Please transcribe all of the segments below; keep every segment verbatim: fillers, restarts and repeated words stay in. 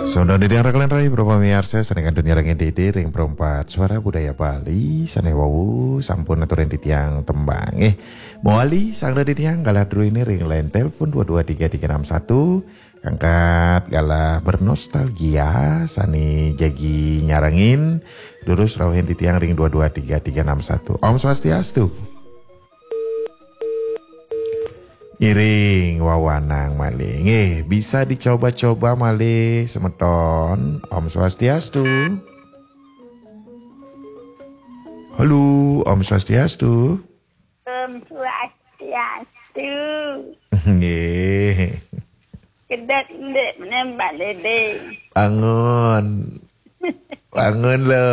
Sampun titiang raka lan rai para pamiarsa sané kantun nyarengin Dédé ring Perempat Suara Budaya Bali sané wau sampun aturin titiang tembang. Eh, mawali sang titiang galah druéné ring line telepon dua dua tiga tiga enam satu. Kangkat galah bernostalgia sané jagi nyarengin, durus rauhin titiang ring dua dua tiga tiga enam satu. Om Swastiastu. Ngiring wawanang malih. Nggih, bisa dicoba-coba malih semeton. Om Swastiastu. Halo, Om Swastiastu. Om Swastiastu. Nggih. Kedek ndek menem Pak Dédé. Bangun. Bangun lo.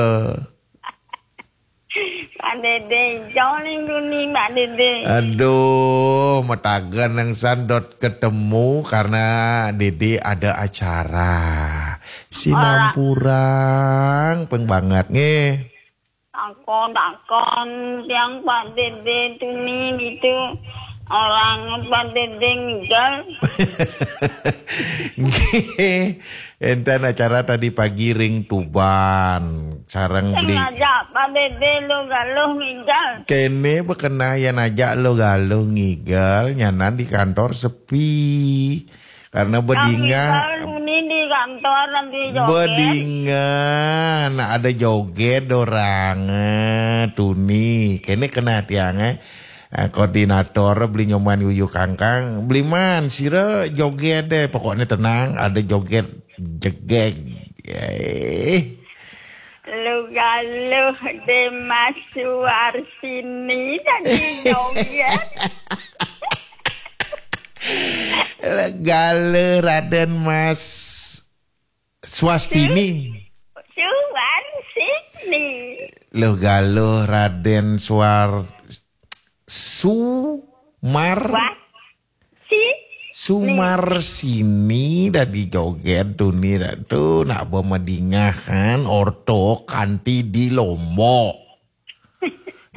Pak Dédé, jauh ning duni Pak Dédé. Aduh, mataga nang sandot ketemu karena Dédé ada acara. Sinampurang, peng banget nggih. Takon-takon tiang Pak Dédé tuni gitu. Orang Pak Dédé ngigel. Nggih, enten acara tadi pagi ring Tuban, sareng Beli. Ngajak Pak Dédé lo Galuh ngigel. Kéné bekenah yén ajak lo Galuh ngigel, nyanan di kantor sepi. Karena bedingah. Ngigel tuni di kantor nanti joget. Bedingah, nah ada joget orang, eh, tuni. Kéné kenah tiang, eh. Eh, koordinator Beli Nyoman Yuyu Kangkang, Beli Man, sira joget deh, pokoknya tenang, ada joget jegeg. Eh. Lo Galuh dé Mas Suarsini tadi joget. Lo Galuh Raden Mas Swastini. Suarsini. Lo Galuh Raden Suar Sumar. Wah. Si. Sumar sini dadi joget tuni datu nak bemedingahan orto kanti di Lombok.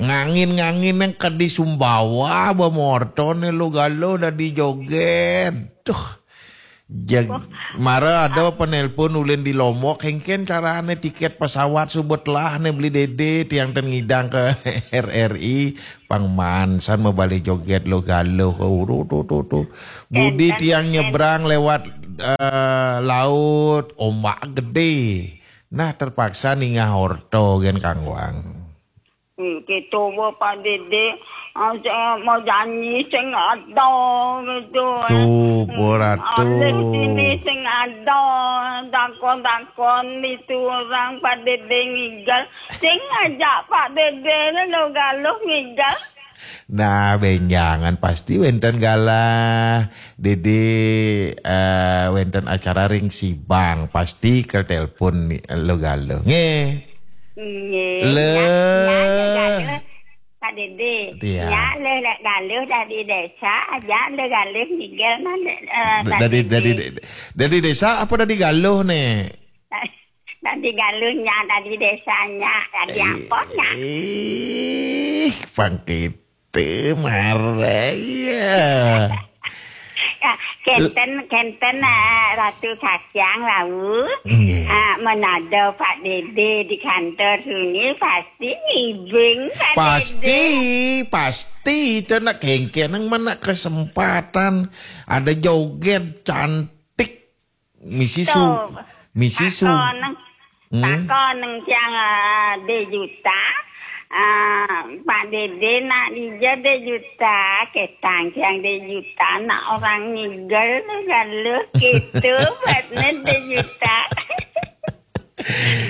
Ngangin-ngangin yang kedi Sumbawa bemorto ne lo Galuh dadi joget. Duh. Jag, mara ada penelpon ulin di Lombok, kéngkén carané tiket pesawat suba telah né Beli Dédé, tiang ten ngidang ke R R I, pang mansan mabali joget lo Galuh, uru tu tu tu. Budi tiang nyebrang lewat, eh, laut, ombak gedé. Nah, terpaksa ningah orto gén kanggoang. Hmm, gitu, Bu, Pak Dédé. Ah, saya mau janji sing ada gitu, eh. Tuh, Bu Ratu. Alih sini sing ada, takon-takon itu orang Pak Dédé ngigel. Sing ajak Pak Dédé lo Galuh ngigel. Nah, bénjangan pasti wénten galah. Dédé, eh, wénten acara ring Sibang, pasti ke telepon ni, lo Galuh. Nggih. Nggih. Le. Ya, ya, ya, Pak Dédé. Iya. Ya, le, le Galuh dari desa aja, le Galuh ngigel mana, eh, Pak Dédé. Dari, dari, dari desa apa dari Galuh nih? Dari Galuhnya, dari desanya, dari ampun ya. Ih, pangkit. Teu marah ya. Ya, kenten, kenten, eh, Ratu Kasiang, Lawu. Nggih. Ah, menado Pak Dédé di kantor sini pasti ngibing Pak Dédé. Pasti, pasti. Itu nak kengkenang mana kesempatan. Ada joget cantik. Misi Su-, tuh. Misi Su-, takon, hmm? Takon nang tiang, eh, Dé Juta. Eh, Pak Dédé nak dija Dé Juta, ketang tiang Dé Juta, nak orang ngigel lo Galuh gitu, buatnya Dé Juta.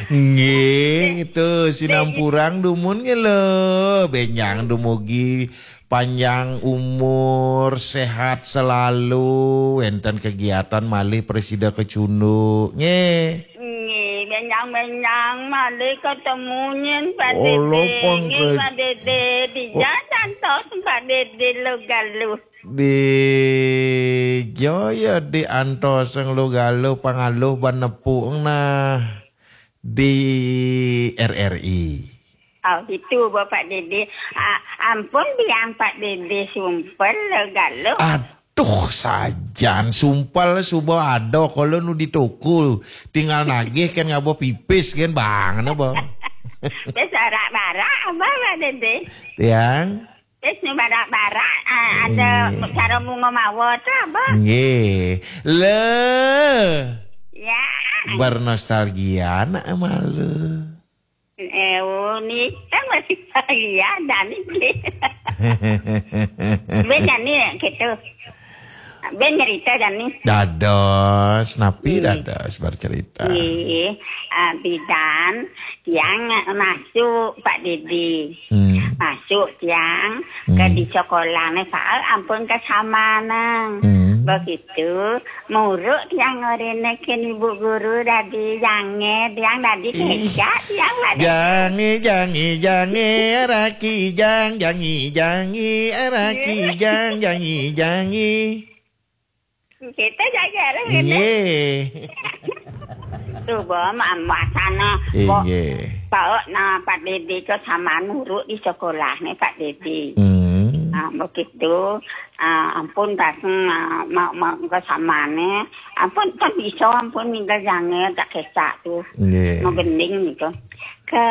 Nggih, tuh, sinampurang dumun nggih lo. Bénjang dumugi panjang umur, sehat selalu, wénten kegiatan malih prasida kecunduk. Nggih. Nggih, bénjang-bénjang malih ketemu nyén Pak Dédé. Nggih, Pak Dédé, dija antos Pak Dédé lo Galuh. Dija ya diantos lo Galuh pangaluh ban nepuk nah di R R I. Oh, gitu, Bapak Dédé. Ah, ampun, biang Pak Dédé sumpel, Galuh. Ad-, Tuh, sajan sumpel suba ada kala nu di toko. Tinggal nagih kan ngaba pipis kan bang, apa? Wis barak-barak, apa, Pak Dede? Tiang? Wis nu barak-barak, ah, ada Nggih. Cara bunga mawa tu, apa? Nggih. Le. Ya. Bernostalgia nak malu. Eh, oh, ni kan masih bahagia dan ni. Ben nyanyi gitu. Ben cerita dan ni. Dados, napi Hmm. Dados bercerita? Nggih, ah, bidan tiang masuk Pak Didi. Hmm. Masuk tiang ke Hmm. Di sekolah ni, soal ampun kesamaan. Hmm. Begitu, muruk tiang ngorene ken ibu guru dadi jange, tiang dadi Ih. Kecak, tiang dadi Jange, jange, jange, araki jang, jangi, jangi, araki Iya. Jang, jangi, jangi. Kita jaga lah, kena. Nggih. Tu, bo, ma-, masana, bo, Inggih. Bawa na Pak Dede ke sama nuruk di sekolah ni, Pak Dede. Hmm. Ah, begitu. Ah, ampun, datang, ah, ma-, ma-, ke sama ni. Ampun, tak bisa, ampun, minta jangan, tak kecak tu. Nggih. Mau gending gitu. Ke